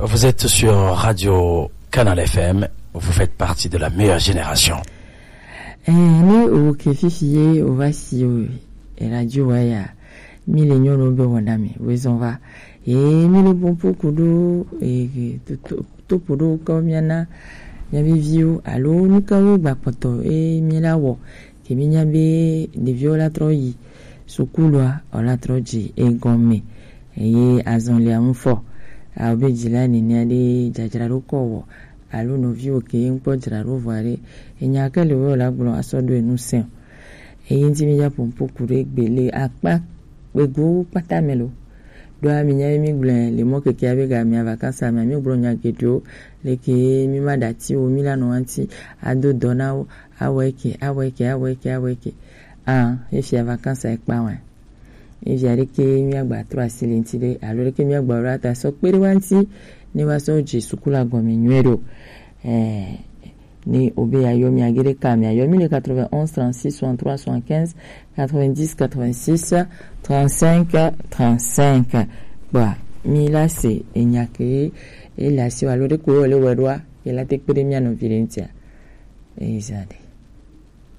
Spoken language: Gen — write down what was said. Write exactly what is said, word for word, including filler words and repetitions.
Vous êtes sur Radio Canal F M, vous faites partie de la meilleure génération. Eh, ne o ke fifi ye o va si o, e radio wa ya, mi le nyɔnu be wɔna mi, wezɔn va. E, mi le bon poku do, e, to, to, to podo kɔ miana, miabe viwo, alo nukawo gba kpɔtɔ, e, mi la wɔ, ke mi nya be ɖeviwo la trɔ yi sukulua, o la trɔ dzi egɔme, eye azɔlia ŋu fɔ. Awo be dzila nenia ɖe dzadzraɖo kɔ wɔ, alo nɔviwo ke ŋkpɔ dzraɖo vɔ aɖe, enya ke le wo la gblɔ asɔ ɖo enu sɛn. Eye ŋti mi ya pompo ku ɖe gbe le akpa gbegbewo kpata me lo. Ɖoa mi nya mi gblɔ le mɔ keke abe ga mi vacances me mi gblɔ nya geɖewo, leke mi ma ɖati wo, mi la nɔ anti ado dɔ na wo, awɔ eke, awɔ eke, awɔ eke, awɔ eke. Ah, efia vacances ekpa wa. Evi aɖeke míagba trɔ asi le ŋuti ɖe, alo ɖeke míagba ɖo ata sɔ kpe ɖe wa ŋuti, ne wa sɔ dze suku la gɔme nyuie ɖo. Eh, ne obe ayɔ mi age ɖe ka mi ayɔ mi le quatre-vingt-onze trente-six soixante-trois soixante-quinze quatre-vingt-dix quatre-vingt-six trente-cinq trente-cinq. Kpɔa, mi la se enya ke e le asi wa alo ɖe ko le wɛ ɖoa, e la te kpe ɖe mia nɔvi ɖe ŋutia. Ezali.